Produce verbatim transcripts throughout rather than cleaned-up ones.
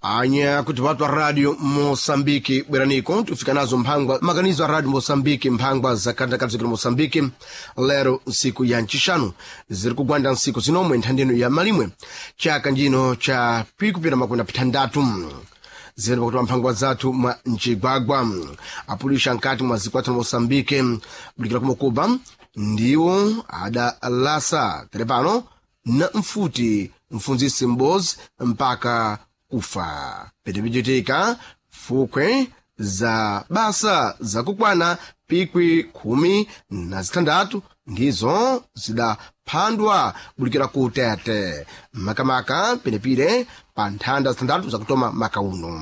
Anya kuti watu wa radio Moçambique bweraniko tifika nazo mphangwa maganizo a radio Moçambique mphangwa za kantakazi kuli Moçambique lero nsiku ya ncixanu ziri kugwanda nsiku zinomwe nthandeno ya malimwe chaka njino cha pikupita makumi apithandatu zene pakuti mphangwa zathu mwa mcigwagwa apulisha nkati mwa zikwathu na Moçambique bulikira kumokuba ndiwo adalasa terepano na mfuti mfunzisi m'bozi mpaka kufa pitipichitika fukwe za basa zakukwana pikwi khumi na zithandatu ndizo zidaphandwa bulikira ku tete makamaka penepire pa nthanda zithandatu zakutoma maka uno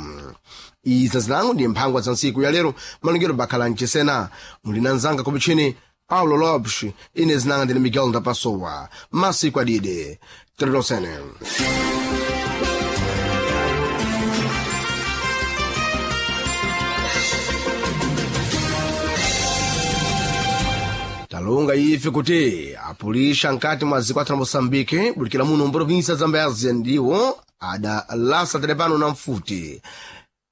iza zilango ndi mphangwa za ntsiku ya lero malongero bakhala mchisena muli na nzanga kupichini paulo lopes ine zinanga ndine miguel ndapasowa masiku adide teletosene talonga ife kuti apulisha nkati mwa zikwathu la moçambique bulikira muno mprovinsia zambézia ndiwo adalasa telepano na mfuti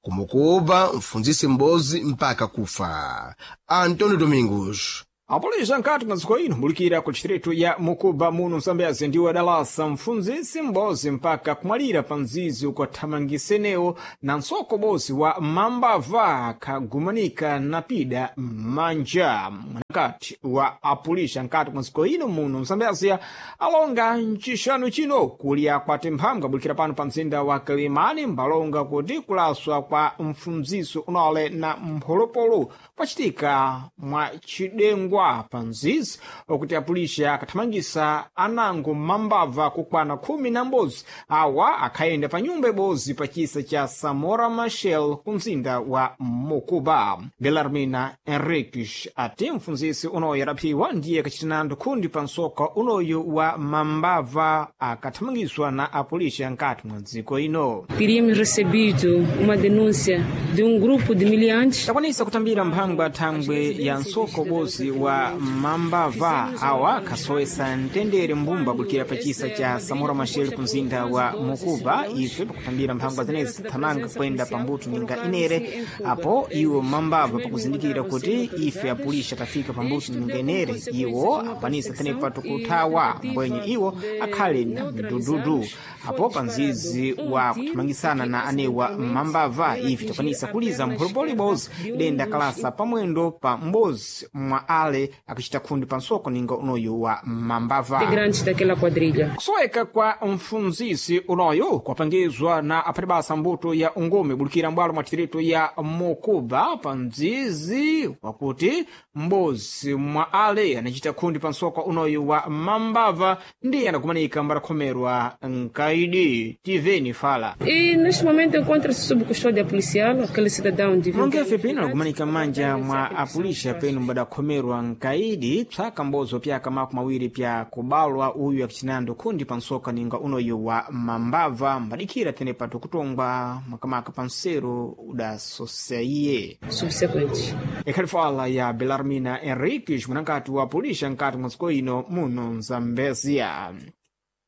kumukuba mfunzisi m'bozi mpaka kufa antônio domingos Apolisa nkati mwa dziko ino mbulikira ku distritu ya Mukuba muno Msambezi ndiwo adalasa mfunzisi m'bozi mpaka kumwalira pa mzizi ukathamangisenewo na msoko bozi wa mambava akhagumanika na pida m'manja mwanakati wa apulisha nkati mwa dziko ino muno Msambezi alonga mcixanu chino kulya kwa timphambwa bulikira pano pa mzinda wa Kilimani mbalonga kuti kulaswa kwa mfunziso unale na mpholopolo kwacitika mwa cidengwa pa mzizi okuti apulisha akathamangisa anango mambava kukwana khumi na m'bodzi awa akhayenda pa nyumba ibodzi pa chisa cha Samora Machel ku mzinda wa Mocuba. Belarmina Henriques ati mfunzisi unoyo adaphiwa ndiye akachitanando khundi pa msoka unoyu wa mambava akathamangiswa na apulisha nkati mwa dziko ino. Teríamos recebido uma denúncia de um grupo de miliantes takwanisa kutambira mphangwa thangwe ya msoko bozi wa mambava awa akhasowesa mtendere mbumba bulikira pa chisa cha Samora Machel ku mzinda wa Mocuba ife pakutambira mphangwa zenezi thamanga kuyenda pambuto ninga inere apo iwo mambava pakuzindikira kuti ife apulisha tafika pambuto ninga inere iwo akwanisa tenepa tukuthawa mbwenye iwo akhale na mdududu apo pa mzizi wa kuthamangisana na anewa mambava ife takwanisa kuliza mpholopolo ibodzi idenda kalasa pamwendo pa m'bodzi mwa ale akuchita khundi pa msoko ninga unoyu wa mambava integrantes daquela quadrilha. kusoweka kwa mfunzisi unoyu kwapangizwa na aphatibasa mbuto ya ungumi bulikira mbwalo mwa distritu ya Mocuba pa mzizi wakuti m'bodzi mwa ale anachita khundi pa msoko unoyu wa mambava ndiye anakumanika mbarakhomerwa nkaidi tiveni fala E neste momento encontra-se sob custódia policial aquele cidadão de mulongefe pino anakumanika m'manja mwa apulisha penu mbadakhomerwa nkaidi psaka mbozo pyaka makumi awiri pya kubalwa uyu akucinando khundi pa msoka ninga unoyu wa mambava mbadikira tenepa tukutongwa makamaka pa msero udasoseiye subsequentes. ikhali fala ya Belarmina Henriques mwanankati wa pulisha nkati mwa dziko ino muno Mzambezia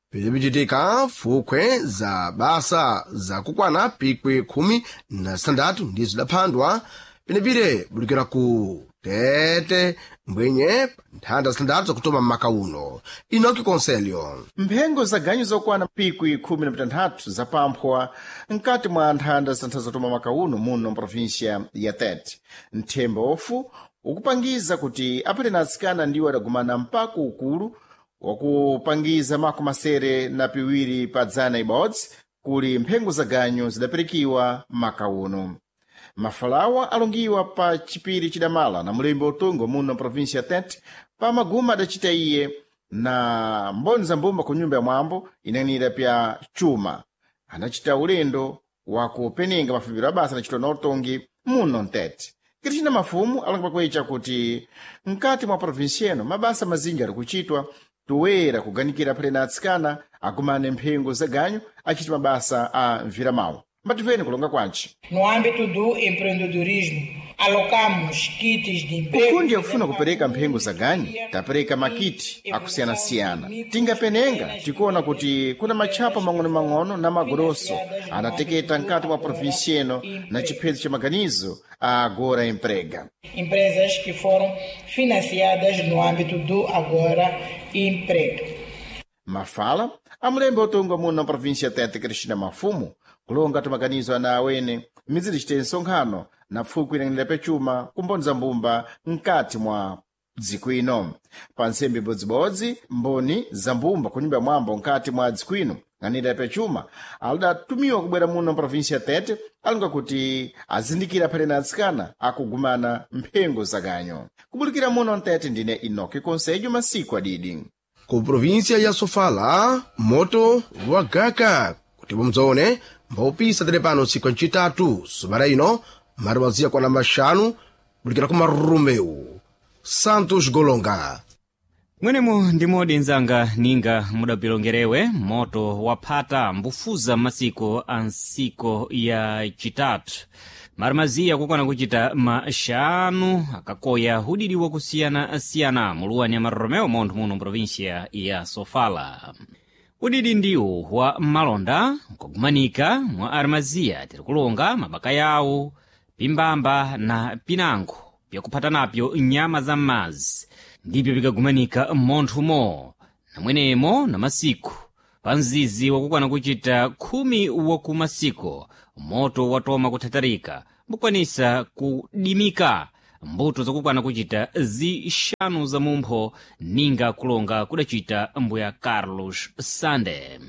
pitipichitika fukwe za basa zakukwana pikwi khumi na zithandatu ndizo zidaphandwa penepire bulikira ku tete mbwenye pa nthanda zithandatu zakutoma m'maka uno inoki konselho mphengo za ganyu zokwana pikwi khumi na pitanthatu zapamphwa mkati mwa nthanda zitantha zatoma maka uno muno mprovinsia ya Tete nthemba ofu ukupangiza kuti apate na atsikana ndiwo adagumana mpaka ukulu wakupangiza makumi masere na piwiri pa dzana ibodzi kuli mphengo za ganyu zidaperekiwa maka uno mafalawa alongiwa pa chipiri chidamala na mulembe utungo muno mprovinsia ya Tete pa maguma adacita iye na mboni za mbumba ku nyumba ya mwambo inanira pya chuma anacita ulendo wakupenenga mafumbiro abasa anacitwa na utongi muno mtete Cristina Mafumu alonga pakwecha kuti mkati mwa provinsia ino mabasa mazinji ali kuchitwa toera kuganikira phale na atsikana agumane mphengo za ganyu achita mabasa a mviramawu mbativeni kulonga kwanci No âmbito do empreendedorismo, Alocamos kits de emprego. Kukundi yakufuna kupereka mphengo za ganyu, tapereka makiti akusiyana-siyana. Tingapenenga tikuona kuti kuna matchapa mang'ono-mang'ono na magoroso anateketa mkati mwa provinsia ino na chiphedzo cha maganizo a Agora Emprega. Empresas que foram financiadas no âmbito do Agora Emprega. Mafala amulembe otongwa muno na província Tete Cristina Mafumo kulonga tumaganizo ana awene miziri chite nsonkhano na pfukwi inang'anira pachuma kumboni za mbumba mkati mwa dziko ino. Pa ntsembe ibodzibodzi mboni za mbumba ku nyumba ya mwambo mkati mwa dziko ino ng'anira pachuma alidatumiwa kubwera muno mprovinsia Tete alonga kuti azindikira phale na atsikana akugumana mphengo za ganyo. Kubulikira muno mtete ndine Inoki Konsejo masiku adidi. Ku província ya Sofala moto wagaka kuti mudzaone mbaupisa tere pano tsiku ncitatu sumana ino mari maziya kwana maxanu kulikira ku Marumeu. Santos Golonga. Mwenemo ndimodi nzanga ninga mudapilongerewe moto waphata mbufuza masiku a nsiko ya chitatu marimaziya kukwana kuchita maxanu akakoya udidi wakusiyana-siyana muluwani ya Maromeo montho muno mprovinsia ya Sofala. Udidi ndiwo wa malonda nkagumanika mwa arimaziya tiri kulonga mabaka yawo pimbamba na pinango pyakuphata napyo nyama za m'mazi ndipyo pikagumanika mmonthumo namwenemo na masiku pa mzizi wakukwana kuchita khumi wakumasiku moto watoma kuthatharika mbukwanisa kudimika mbuto zakukwana kuchita zixanu za mumpho ninga kulonga kudacita mbuya Carlos Sande.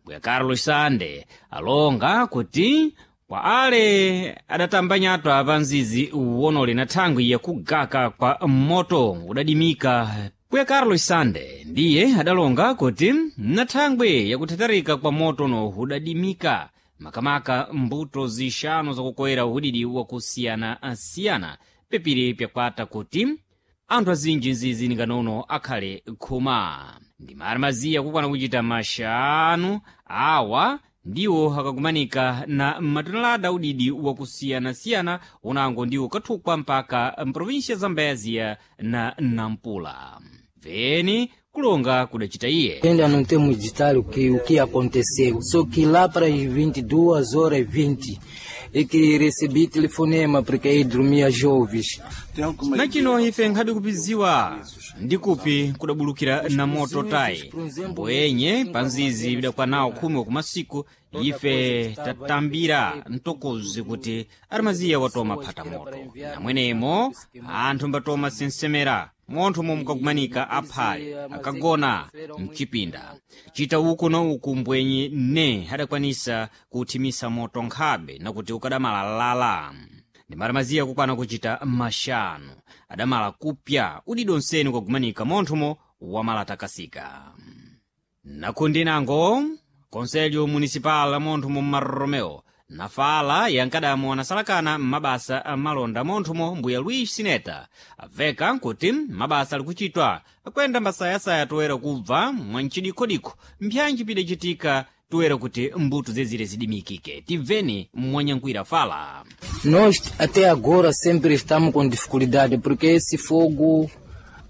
Mbuya Carlos Sande alonga kuti kwa ale adatamba nyatwa pa mzizi wonole na thangwi yakugaka kwa moto udadimika. Mbuya Carlos Sande ndiye adalonga kuti na thangwi yakuthatharika kwa motono udadimika makamaka mbuto zixanu zakukoyera udidi wakusiyana-siyana pepiri pyakwata kuti anthu azinji nzizi ninganono akhale khuma. Ndi marimaziya kukwana kuchita maxanu awa ndiwo akagumanika na matonelada udidi wakusiyana-siyana unango ndiwo kathukwa mpaka mprovinsia Zambezia na Nampula. Veni kulonga kudacita iye. Ainda não temos detalhe o que, o que aconteceu. Só que lá para as vinte e duas horas e vinte é que recebi telefonema porque aí dormia jovens. Nachino ife nkhabe kupiziwa ndikupi kudabulukira na moto tayi mboyenye pa nzizi bidakwanawo khumi wakumasiku ife tatambira mtokozi kuti arimaziya watoma phata moto namwenemo anthu mbatoma sinsemera montho momwe aphale akagona mchipinda chita uku na uku mbwenyi ne adakwanisa kuthimisa moto nkhabe nakuti ukadamalalala. Ndi marimaziya kukwana kuchita maxanu adamala kupya udidonseni ukagumanika monthomo wamalatakasika. Nakundi nango konselho municipal monthomo mmaromeo nafala yankadamo anasalakana m'mabasa amalonda monthomo mbuya Luis Sineta aveka nkuti mabasa ali kuchitwa akwenda mbasayasaya toera kubva mwanchidikhodikho mpyanji pidacitika toera kuti mbuto zezire zidimikike. Tibveni mwanyankhwira fala. Nós até agora sempre estamos com dificuldade porque esse fogo,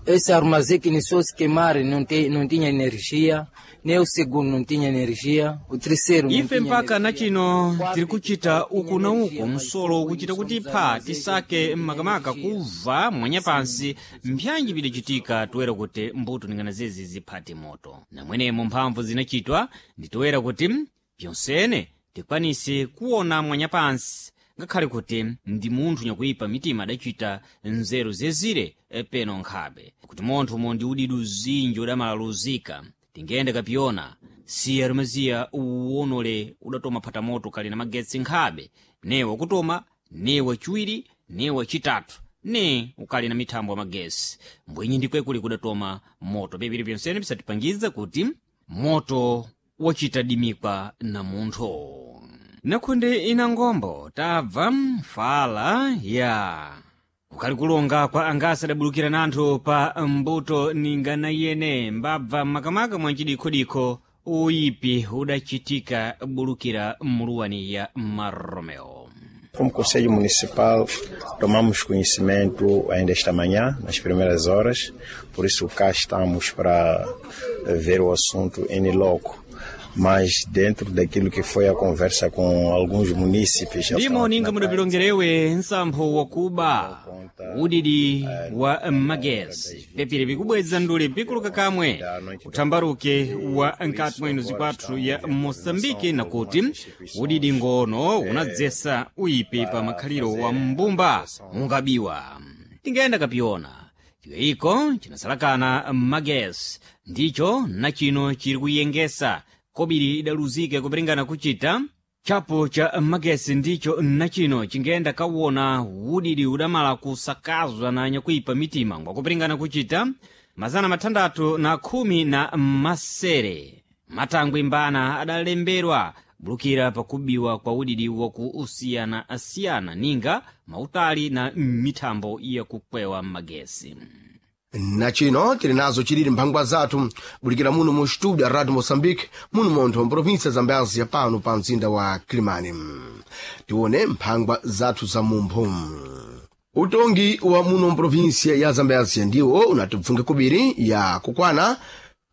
esse armazém que iniciou se queimar não, tem, não tinha energia, nem o segundo não tinha energia, o terceiro não Ife tinha mpaka energia. nachino tiri kuchita uku na uku msolo ukuchita kuti pha tisake makamaka kubva mwanyapansi mpyanji pidacitika toera kuti mbuto ningana zezi ziphate moto. Namwenemo mphamvu zinachitwa nditoera kuti pyonsene tikwanise kuona mwanyapansi ngakhale kuti ndi munthu nyakuipa mitima adacita nzeru zezire peno nkhabe kuti monthomo ndi udidu zinji udamalaluzika tingende kapiyona siya rumaziya uwonole udatoma phata moto kali na magetsi nkhabe ne wakutoma ne wachiwiri ne wachitatu ne ukali na mithambo ya magesi mbwenyi ndikwekuli kudatoma moto pepiri pyonsene pisatipangiza kuti moto wachita dimikwa na munthu. Nakhunde ina ngombo tabva fala ya kukali kulonga kwa angasi adabulukira nanthu pa mbuto ninga na yene mbabva makamaka mwa cidikhodikho uyipi udacitika bulukira muluwani ya Maromeo. Como Conselho Municipal, tomamos conhecimento ainda esta manhã, nas primeiras horas, por isso cá estamos para ver o assunto em loco. Mas dentro daquilo que foi a conversa com alguns munícipes... Ndimo ninga mudapilongerewe nsampho wakuba udidi wa magesi pepire pikubweza ndule pikuluka kamwe uthambaruke wa nkati mwenu zikwathu ya Moçambike nakuti udidi ngono unadzesa uyipi pa makhaliro wa mbumba ungabiwa tingayenda kapiona chikayiko chinasalakana magesi ndicho nachino chiri kuyengesa kobiri idaluzike kupiringana kuchita chapo cha magesi ndicho nachino chingenda kawona udidi udamala kusakazwa na nyakuipa mitima ngwakupiringana kuchita mazana mathandathu na khumi na masere matangwe mbana adalemberwa bulukira pakubiwa kwa udidi wakuusiyana-asiyana ninga mautali na mithambo yakukwewa magesi. Na chino tili nazo chilili mphangwa zathu bulikira muno mu studio ya Radio Moçambique muno montho mprovinsia Zambezia pano pa mzinda wa Kilimani. Tione mphangwa zathu za mumpho. Utongi wa muno mprovinsia ya Zambezia ndiwo unatipfunga kubiri ya kukwana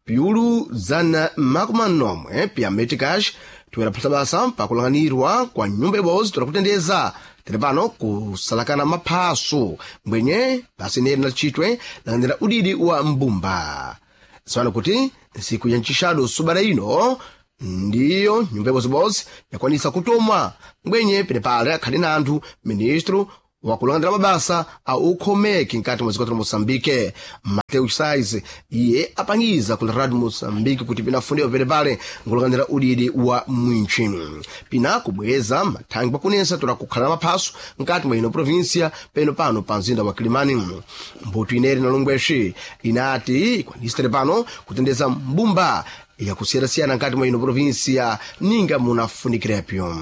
piulu zana makumi manomwe pya meticas tiweraphatsa basa pakulang'anirwa kwa nyumba ibodzi torakutendeza tiri pano kusalakana maphaso mbwenye basi neri na chitwe lang'anira udidi wa mbumba ziwani kuti ntsiku ya ncixado subada ino ndiyo nyumba ibozibodzi yakwanisa kutomwa mbwenye penepale akhali na anthu ministro wakulang'anira mabasa a ukhomeki nkati mwa dziko la Moçambique Mateus Sais iye apangiza ku Radio Moçambique kuti pinafundiwa penepale nkulang'anira udidi wa mwintchi pina kubweza mathangwi pakunesa tola kukhala maphaso nkati mwa ino província peno pano pa mzinda wa Kilimani. Mbuto ineri na longwexi inati ikwanisa pano kutendeza mbumba yakusiyana-siyana nkati mwa ino província ninga munafunikirepyo.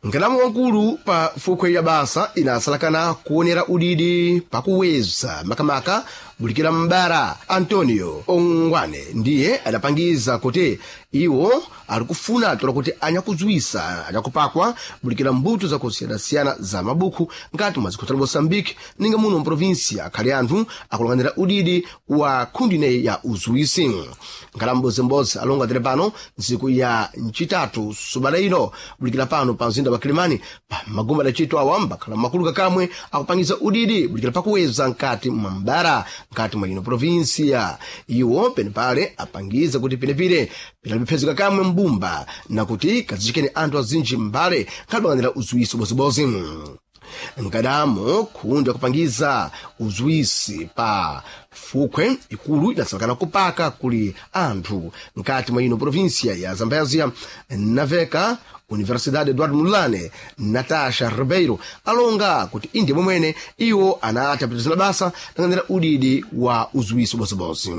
Nkalamu wankulu pa fukwe ya basa inasalakana kuonera udidi pakuweza makamaka bulikira mbara Antonio Ongwane ndiye adapangiza kuti iwo ali kufuna tola kuti anyakudzwisa anyakupakwa bulikira mbuto zakusiyanasiyana za mabuku nkati mwa dziko la Moçambique ninga muno mprovinsia akhali anthu akulang'anira udidi wa khundi ineyi ya uzuwisi. Nkalamu mbodzimbodzi alonga tere pano ntsiku ya ncitatu subada ino bulikira pano pa mzinda wa Kilimani pa magomba adacitwa awa mbakhala makulu kakamwe akupangiza udidi bulikira pakuweza nkati mwa mbara nkati mwa ino provinsia iwo penepale apangiza kuti penepire pinaliphezeka kamwe mbumba nakuti kazichikeni anthu azinji mbale nkhalipang'anira uzuwisi ubozibozi. Nkadamo khundi akupangiza uzuwisi pa fukhwe ikulu idasalakana kupaka kuli anthu nkati mwa ino provinsia ya Zambezia naveka Universidade Eduardo Mondlane Natasha Ribeiro alonga kuti indi momwene iwo anati apitizana basa lang'anira udidi wa uzuwisi ubozibozi.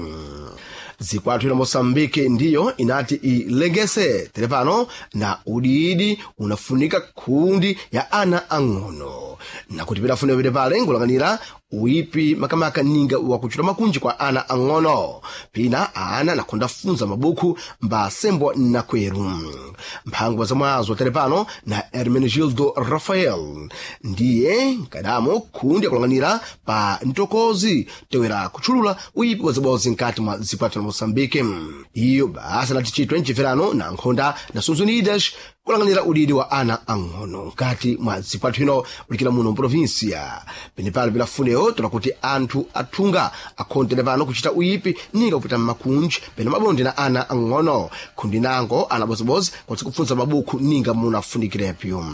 Zikwathu ila Moçambique ndiyo inati ilengese telepano na udidi unafunika khundi ya ana ang'ono nakuti pidafuna pete pale nkulang'anira uipi makamaka ninga wakuchita makunji kwa ana ang'ono pina ana nakhonda funza mabuku mbasembwa nakweru. Mphangwa zamwazo telepano na Hermenegildo Rafael ndiye nkadamo khundi akulang'anira pa ntokozi tewera kutchulula uipi bozibozi nkati mwa zikwathu la Moçambique. Iyo basa lati chitwe mchimverano na nkhonda Nações Unidas kulang'anira udidi wa ana ang'ono nkati mwa zikwathu ino ulikira muno mprovinsia penepale pilafuneo tola kuti anthu athunga akhontere pano kuchita uyipi ninga kupita mmakunji pena mabonde na ana ang'ono khundi nango ana bozibozi kwatsi kupfunza mabuku ninga munafunikirepyo.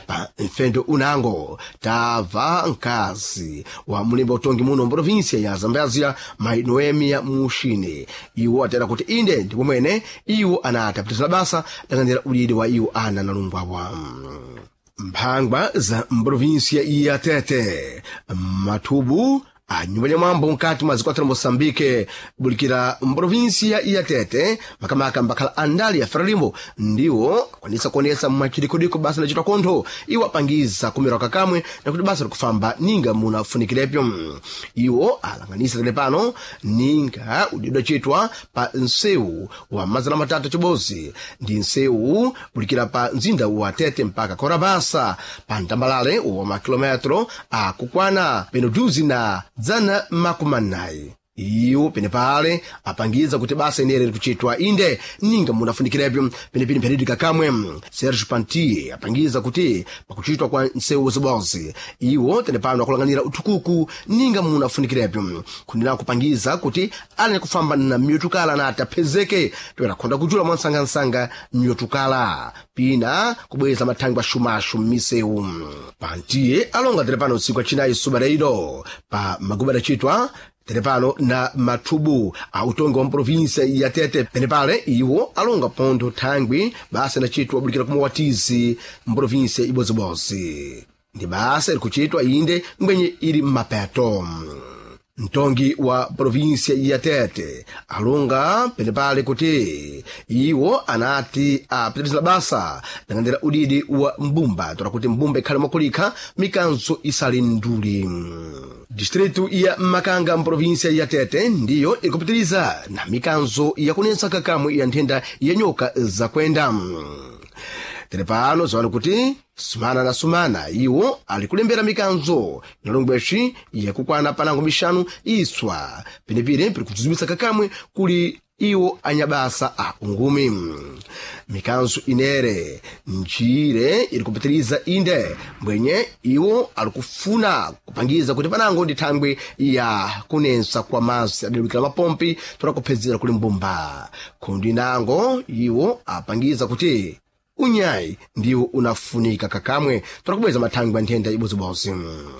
Pa mfendo unango tamva mkazi wa mulimba utongi muno mprovinsia ya Zambezia mai Noemia Mushini iwo atera kuti inde ndipo mwene iwo anati apitizana basa lang'anira udidi wa iwo ana nalungwawa. Mphangwa za mprovinsia ya Tete mathubu A nyumba ya mwambo nkati mwa zikwatira Moçambique bulikira mprovinsia ya Tete makamaka mbakhala andali ya Frelimo ndiwo akwanisa kuonesa mwachidikodiko basa lachitwa kontho iwo apangiza kumerwa kakamwe na kuti basa likufamba ninga munafunikilepyo. Iwo alanganisa tele pano ninga udidwa chitwa pa nsewu wa mazana matatu chibozi ndi nsewu bulikira pa mzinda wa Tete mpaka Korabasa pa ntambalale wa makilometro akukwana peno duzi na dzana makumi anayi. Iwo penepale apangiza kuti basa inere likuchitwa inde ninga munafunikilepyo penepene mpheridi kakamwe. Serge Pantier apangiza kuti pakuchitwa kwa nsewu zibozi iwo tenepano akulanganira uthukuku ninga munafunikilepyo kundina kupangiza kuti ali kufamba na myotukala na atapezeke toera khonda kuchula mwansangansanga myotukala pina kubweza mathangwi axumaxu m'misewu. Pantier alonga telepano usiku acinayi subareiro pa maguba adacitwa telepano na mathubu a utongi wa mprovinsia ya Tete penepale iwo alonga pontho thangwi basa inacitwa bulikira kumawatizi mprovinsia ibozibozi ndi basa ilikuchitwa inde ngwenye ili mmapeto. Mtongi wa provinsia ya Tete alonga penepale kuti iwo anati apitiriza basa langandira udidi wa mbumba tola kuti mbumba ikhale mwakulikha mikanzo isali nduli. Distritu ya Makanga mprovinsia ya Tete ndiyo ikupitiriza na mikanzo yakunensa kakamwe ya nthenda ya nyoka zakwenda. Telepano ziwani kuti sumana na sumana iwo alikulembera mikanzo inalongweshi yakukwana panango mixanu iswa penepene pili kudzuzumisa kakamwe kuli iwo anyabasa a ungumi. Mikanzo inere njire ili kupitiriza inde mbwenye iwo alikufuna kupangiza kuti panango ndi thangwi ya kunensa kwa mazi adalukira mapompi tola kuphezera kuli mbumba. Khundi nango iwo apangiza kuti unyayi ndiwo unafunika kakamwe tola kubweza mathangwi a nthenda ibozibozi.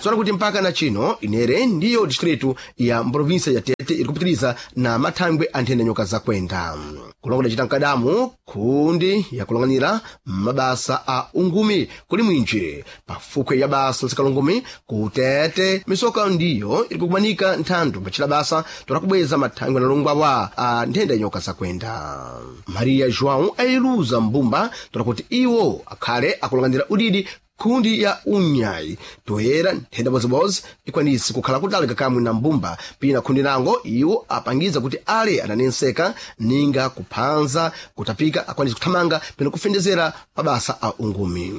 Sola kuti mpaka na chino inere ndiyo distritu ya mprovinsia ya Tete iri kupitiriza na mathangwi a nthenda nyoka zakwenda. Kulongola cita mkadamu khundi yakulang'anira mabasa a ungumi kuli mwinji pafukwe ya basa lisikalungumi kutete misoka ndiyo iri kukumanika nthandu pacila basa tola kubweza mathangwi analongwawa a nthenda ya nyoka zakwenda. Maria João ayiluza mbumba tola kuti iwo akhale akulang'anira udidi khundi ya unyayi toyera nthenda bozibozi ikwanisi kukhala kutali kakamwe na mbumba pina khundi nango iwo apangiza kuti ale ananenseka ninga kuphanza kutapika akwanisi kuthamanga pena kufendezera mabasa a ungumi.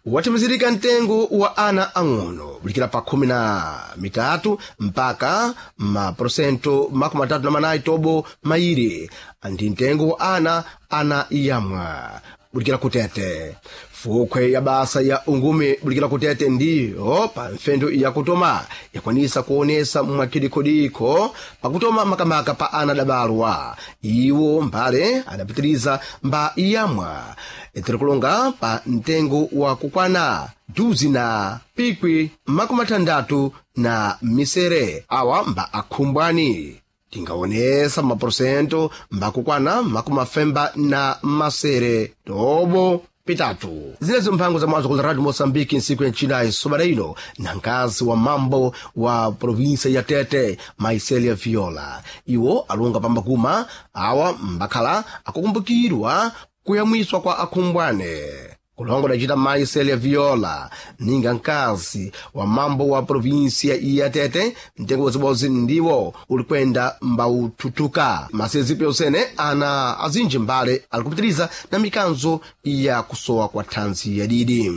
Watimizirika mtengo wa ana ang'ono bulikira pa khumi na mitatu mpaka maporosento makumi atatu na manayi tobo mairi ndi mtengo wa ana ana yamwa bulikira kutete. Fukhwe ya basa ya ungumi bulikira kutete ndiyo pa mfendo yakutoma yakwanisa kuonesa mwakidikhodikho pakutoma makamaka pa ana adabalwa iwo mbale adapitiriza mba yamwa itirikulonga pa mtengo wa kukwana duzi na pikwi makumi atandatu na misere awa mba akhumbwani tingaonesa maporosento mbakukwana makumi afemba na masere tobo pitatu. Zilezo mphango za mwazo kula Radio Moçambique nsiku ya ncinayi sobada ino na nkazi wa mambo wa provinsia ya Tete Maiselia Viola iwo alunga pambakuma awa mbakhala akukumbukirwa kuyamwiswa kwa akhumbwane. Kulongo dacita Maiselia Viola ninga nkazi wa mambo wa provinsia ya Tete mtengo bozibozi ndiwo ulikwenda mbaututuka masezipo yosene ana azinji mbale alikupitiriza na mikanzo ya kusowa kwa thanzi yadidi.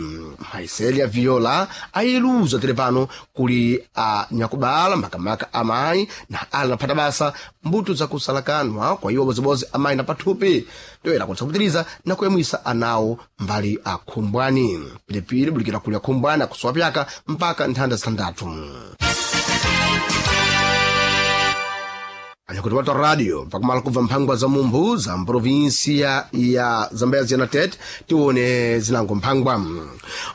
Maiselia Viola ayiluza telepano kuli anyakubala makamaka amayi na ali naphata basa mbuto zakusalakanwa kwa iwo bozibozi amayi na pathupi toera kutsa kupitiriza na kuyamwisa anawo mbali akhumbwani pilipili bulikira kuli akhumbwani akusowa pyaka mpaka nthanda zitandatu. Anyakuti watu radio pakumala kubva mphangwa za mumphu za mprovinsia ya Zambezia na Tete tione zinango mphangwa.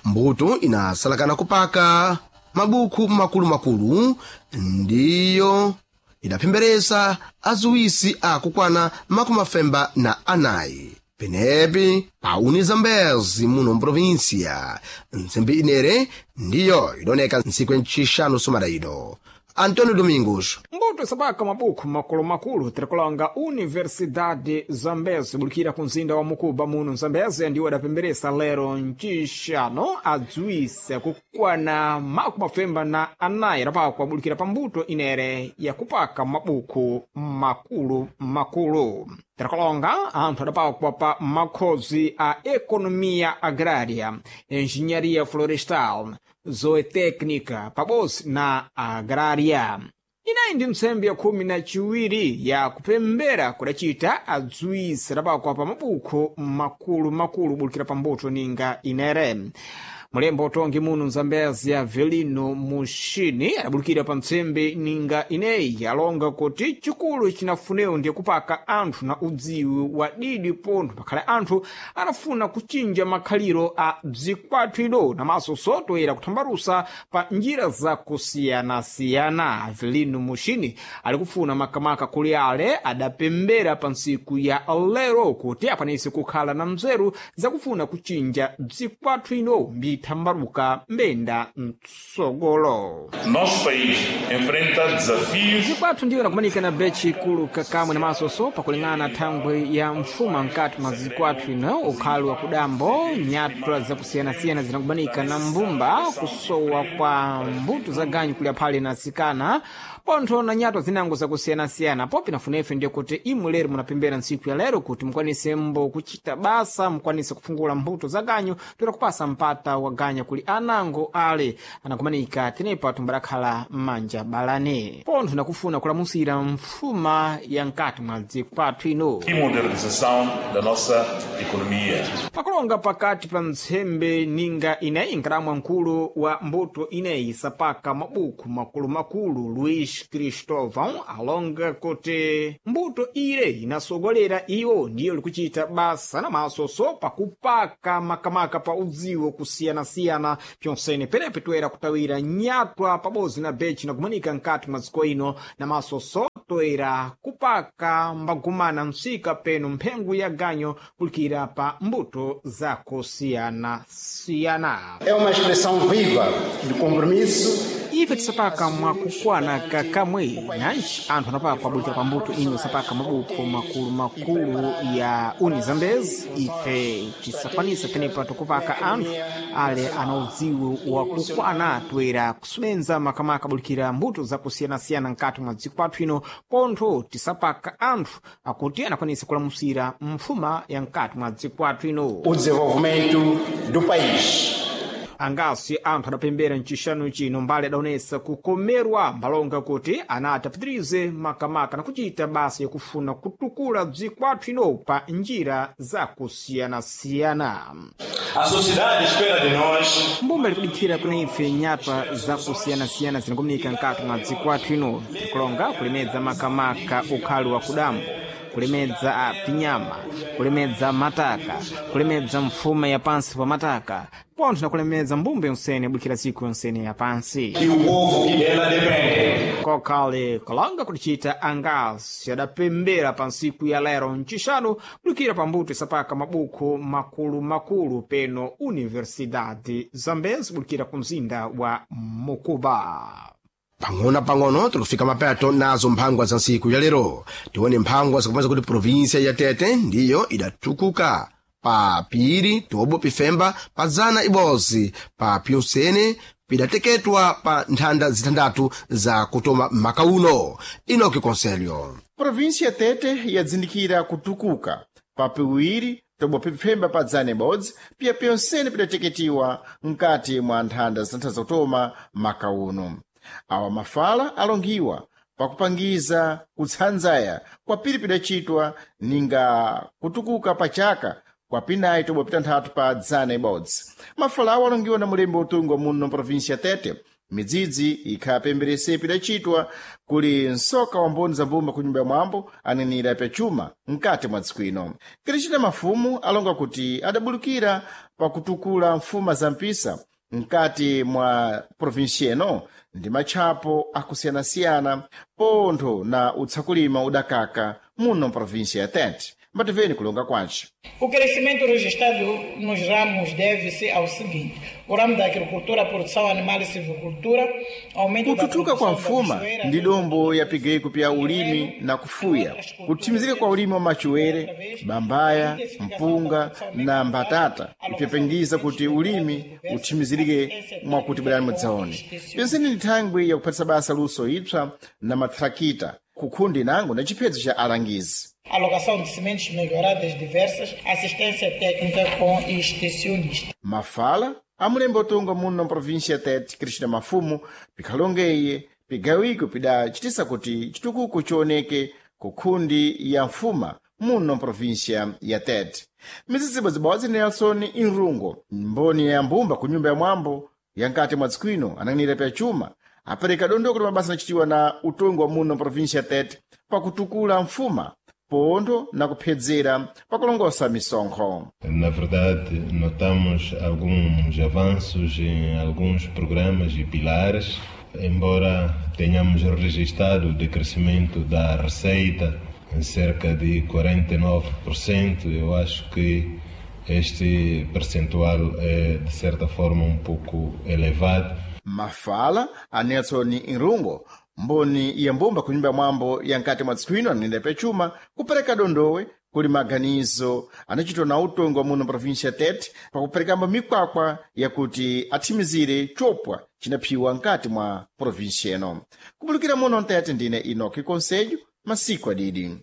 Mbuto inasalakana kupaka mabuku makulumakulu ndiyo idaphemberesa aziwisi akukwana makumi afemba na anayi penepi pauni Zambezi muno mprovinsia. Ntsembe inere ndiyo idoneka ntsiku ya ncixanu somada ino. Antônio Domingos. Mbuto sabaka mabuku makulu-makulu tirikulonga Universidade Zambezi bulikira ku mzinda wa Mukuba muno Zambezi ndiwo adapemberesa lero ncixano adziwisa kukwana makumi mafemba na anayi rapakwa bulikira pa mbuto inere yakupaka mabuku makulu-makulu. Tirikulonga anthu adapakwa pa makhozi a ekonomiya agrária, engenharia florestal, zootecnica pabodzi na agrária. Inayi ndi ntsembe ya khumi na chiwiri ya kupembera kudacita adziwisi adapakwa pa mabuku makulu-makulu bulikira pa mbuto ninga inere. Mulembo utongi muno Mzambezi Avelino Mushini adabulukira pa ntsembe ninga ineyi alonga kuti chikulu chinafunewo ndiye kupaka anthu na udziwi wa didi pontho pakhale anthu anafuna kuchinja makhaliro a bzikwathu ido namaso sotoera kuthambalusa pa njira zakusiyanasiyana. Avelino Mushini ali kufuna makamaka kuli ale adapembera pa ntsiku ya lero kuti akwanise kukhala na mzeru zakufuna kuchinja bzikwathu ino mbithambaluka mbenda mtsogolo. Nosso país enfrenta desafios Zikwathu ndiyo nakumanika na bechi ikulu kakamwe na masoso pakuling'ana thangwi ya mfuma mkati mwa zikwathu ino ukhali wa kudambo nyatwa zakusiyanasiyana zinakumanika na mbumba kusowa kwa mbuto za ganyu kulya phale na sikana pontho na nyatwa zinango zakusiyanasiyana popi nafunefe ndiye kuti imwe lero munapembera ntsiku ya lero kuti mukwanise mbo kuchita basa mukwanise kufungula mbuto za ganyu toera kupasa mpata wa ganya kuli anango ale anakumanika tenepa tumbalakhala m'manja balane pontho nakufuna kulamusira mfuma ya mkati mwa dzikwathu ino e modernização da nossa economia. Pakulonga pakati pa ntsembe ninga ineyi nkalamwa mkulu wa mbuto ineyi sapaka mabuku makulu-makulu Luís Cristóvão alonga kuti mbuto ire inasogolera iwo ndiyo likuchita basa na masoso pakupaka makamaka pa udziwo kusiyanasiyana pyonsene penepe toera kutawira nyatwa pabodzi na bechi nakumanika mkati mwa dziko ino na masoso toera kupaka mbagumana msika peno mphengo ya ganyo kulikira pa mbuto zakusiyanasiyana. É uma expressão viva de compromisso Ife tisapaka mwakukwana kakamwe nanji anthu anapaka abulikira pa mbuto ino sapaka mabuku makulu-makulu ya Unizambezi. Ife tisakwanisa tenepa tukupaka anthu ale ana udziwi wakukwana toera kusubenza makamaka abulikira mbuto zakusiyanasiyana mkati mwa dziko pathu ino pontho tisapaka anthu akuti anakwanisa kulamusira mfuma ya mkati mwa dziko pathu ino. o desenvolvimento do país. Angasi anthu adapembera mcixanu chino mbali adaonesa kukomerwa mbalonga kuti anati apitirize makamaka na kuchita basa yakufuna kutukula bzikwathu ino pa njira zakusiyanasiyana. A sociedade espera de nós Mbumba likudikhira kuna ife nyatwa zakusiyanasiyana zinakumanika mkati mwa dzikwathu ino tikulonga kulemedza makamaka ukhali wa kudambo kulemedza pinyama kulemedza mataka kulemedza mfuma ya pansi pa mataka pontho na kulemedza mbumba yonsene yabulikira dziko yonsene ya pansi e o povo que dela depende. Kokhale kalanga kuticita angasi adapembera pa ntsiku ya lero mcixanu kulikira pambuto isapaka mabuku makulu-makulu peno Universidade Zambezi bulikira ku mzinda wa Mukuba. Pang'ono-pang'ono tikufika mapeto nazo mphangwa za ntsiku ya lero. Tione mphangwa zikupeza kuti provinsia ya Tete ndiyo idatukuka pa piri tobo pifemba pa zana ibodzi pa pyonsene pidateketwa pa nthanda zitandatu za kutoma maka uno. Inoki Conselho. Província ya Tete yadzindikira kutukuka pa piwiri tomwe pipfemba pa dzana ibodzi piya pyonsene pidateketiwa mkati mwa nthanda zitantha zakutoma maka uno. Awa mafala alongiwa pakupangiza kutsanzaya kwa piri pidacitwa ninga kutukuka pa chaka kwa pinayi tomwe pitanthatu pa dzana ibodzi. Mafala awo alongiwa na mulembe utungwa muno província ya Tete. Midzidzi ikhapemberese pidacitwa kuli msoka wa mboni za mbumba ku nyumba ya mwambo anenera pyachuma mkati mwa dziko ino. Kilicita mafumu alonga kuti adabulukira pakutukula mfuma za mpisa mkati mwa provinsia ino ndi matchapo akusiyanasiyana pontho na utsakulima udakaka muno mprovinsia ya Tete. Mbativeni kulonga kwace. O crescimento registrado nos ramos deve-se ao seguinte: o ramo da agricultura, produção animal e silvicultura, aumento da Kuthuthuka kwa produção da mfuma machoeira, ndi dombo yapigeko pya ulimi na kufuya, kuthimizika kwa ulimi wa machuwere, bambaya, mpunga na mbatata ipyapangiza kuti ulimi uthimizirike mwakuti bwerani mudzaone. Penseni ni thangwi yakuphatisa basa luso ipsa na mathrakita kukhundi nango na chiphedzo cha alangizi. Alocação de sementes melhoradas diversas, assistência técnica com extensionista. Mafala amulembe utunga muno mprovinsia ya Tete, Cristina Mafumo, pikhalongeye pigawiko pidacitisa kuti chitukuko chioneke ku khundi ya mfuma muno mprovinsia ya Tete. Mizizibo zibodzi Nelson Inrungo, mboni ya mbumba ku nyumba ya mwambo ya nkati mwa dziko ino anang'anira pya chuma, apereka dondoko la mabasa anachitiwa na utongi wa muno mprovinsia ya Tete pakutukula mfuma pontho na kuphedzera pakulongosa misonkho. Na verdade, notamos alguns avanços em alguns programas e pilares, embora tenhamos registrado o decrescimento da receita em cerca de quarenta e nove por cento, eu acho que este percentual é, de certa forma, um pouco elevado. Mafala a Nelson Inrungo, mboni ya mbumba ku nyumba ya mwambo ya nkati mwa dziko ino ananena pachuma kupereka dondowe kuli maganizo anachitwa na utongi wa muno provinsia ya Tete pakuperekambo mikwakwa yakuti athimizire chopwa cinaphiwa nkati mwa provinsia ino. Kupulukira muno Mtete, ndine Enoki Conselho, masiku adidi.